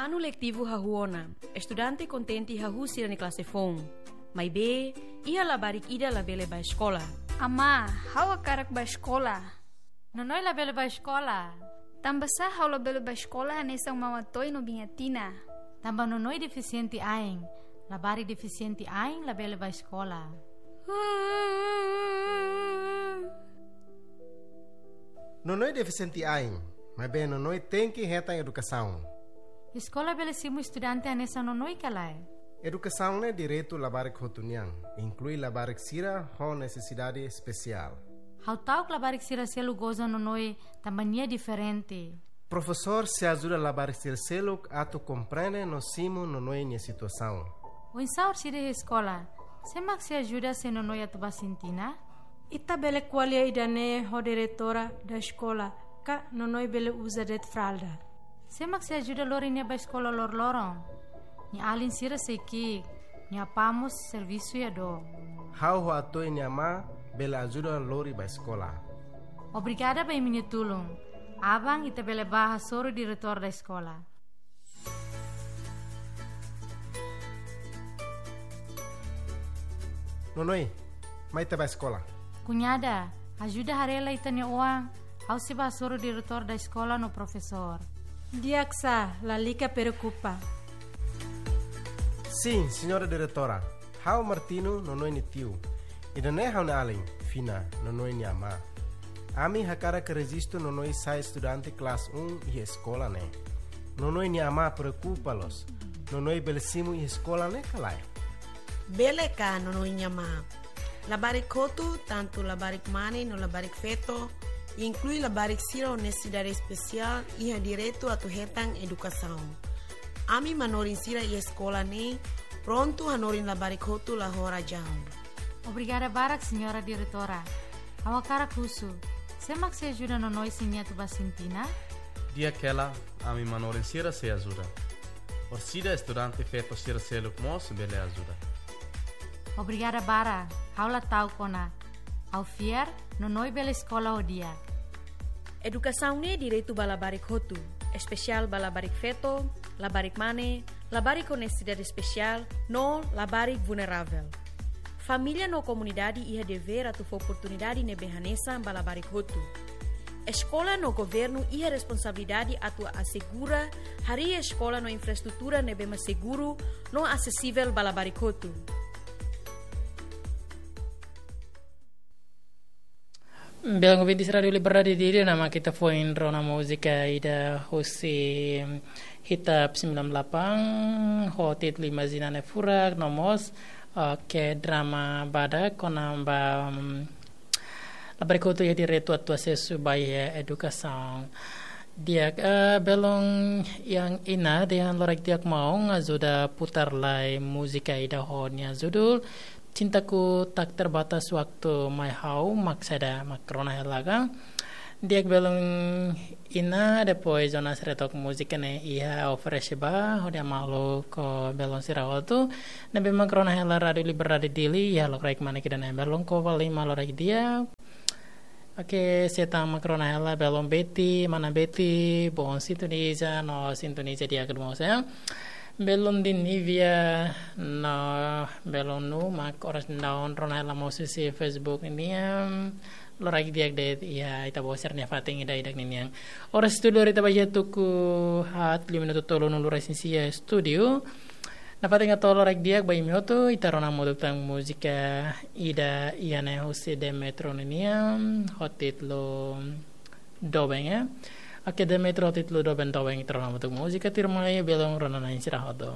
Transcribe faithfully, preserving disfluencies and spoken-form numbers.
Anu letivu hahú ona, estudante kontente hahú sira-nia klase foun. Maibé, iha labarik ida labele bá eskola. Amá, ha'u hakarak bá eskola. Nonoi labele bá eskola. Tanbasá ha'u labele bá eskola hanesan Maun Atoy no Biin Atina? Tanba Nonoi defisiente ain. Labarik defisiente ain labele bá eskola. Nonoi defisiente ain, maibé Nonoi tenke hetan edukasaun. Eskola bele simu estudante hanesan Nonoi ka lae? Edukasaun ne'e direitu labarik hotu nian, inklui labarik sira ho nesesidade espesiál. Ha'u ta'uk labarik sira seluk goza Nonoi tanba nia diferente. Profesór sei ajuda labarik sira seluk atu komprende no simu Nonoi nia situasaun. Oinsá orsida iha eskola, sé mak sei ajuda se Nonoi atu bá sentina? Ita bele ko'alia ida-ne'e ho diretora da eskola, ka Nonoi bele uza de'it fralda. Sé mak sei ajuda lori nia bá eskola loroloron? Nia alin sira sei ki'ik, nia apá mós servisu iha dook. Ha'u ho Atoy nia amá bele ajuda lori bá eskola. Obrigada ba imi-nia tulun. Aban ita bele bá hasoru diretór da eskola. Nonoi, mai ita bá eskola. Kuñada, ajuda haree lai ita-nia oan, ha'u sei bá hasoru diretór da eskola no profesór. Di'ak sá, lalika preokupa. Sin, señora diretora. Ha'u Martino, Nonoi nia tiu. Ida-ne'e ha'u-nia alin, Fina, Nonoi nia amá. Ami hakarak rejistu Nonoi sai estudante klase um iha eskola ne'e. Nonoi nia amá preokupa loos. Nonoi bele simu iha eskola ne'e ka lae? Bele ka, Nonoi nia amá. Labarik hotu, tantu labarik mane no labarik feto, inklui labarik sira ho nesesidade espesiál, iha direitu atu hetan edukasaun. Ami manorin sira iha eskola ne'e prontu hanorin labarik hotu la ho razaun. Obrigada barak, señora diretora. Ha'u hakarak husu, sé mak sei ajuda Nonoi se nia atu bá sentina? Di'ak hela, ami manorin sira sei ajuda. Orsida estudante feto sira seluk mós bele ajuda. Obrigada barak, ha'u la ta'uk ona. Ha'u fiar, Nonoi bele eskola ho di'ak. Edukasaun ne'e direitu ba labarik hotu, espesiál ba labarik feto, labarik mane, labarik ho nesesidade espesiál, no labarik vulneravel. Família no komunidade iha devér atu fó oportunidade ne'ebé hanesan ba labarik hotu. Eskola no governu iha responsabilidade atu asegura harii eskola no infraestrutura ne'ebé mak seguru no asesivel ba labarik hotu. Belun ouvinte Rádiu Liberdade Dili, ne'e mak ita foin rona múzika ida husi Hitap sembilan delapan, ho títulu Imajina Ne'e Furak, no mós, eh, ke drama badak kona-ba, mm, labarik hotu iha direitu atu asesu ba iha edukasaun. Di'ak, eh, belun Ian Ina, dehan loraik di'ak maun ajuda putar lai múzika ida ho nia judul Cintaku Tak Terbatas Waktu. Mai ha'u mak saida, mak rona hela ka? Di'ak belun Ina, depois Jonas Retok múzika ne'e iha oferese ba hodi maluk ho belun sira hotu ne'ebé mak rona hela Rádiu Liberdade Dili iha lokraik manek ida-ne'e. Belun, koko fali mak loraik di'ak. Oke, seta mak rona hela belun Betty, mana Betty, bom sintoniza, no sintoniza di'ak mós, eh. Belun Dinivia, no belun Nu, mak oras daudaun rona hela mós husi Facebook nian, loraik di'ak de'it iha ita-boot sira-nia fatin ida-idak ninian. Oras estúdiu ita ba iha tuku haat, lima minutu tolunulu resin sia estúdiu. Nafatin hato'o loraik di'ak ba imi hotu, ita rona hamutuk tan múzika ida iha ne'e husi Demetro ninian, ho títulu Doben, eh. Oke, Demetro ho títulu Doben, Doben, ita rona hamutuk múzika tuirmai, belun rona-na'in sira hotu.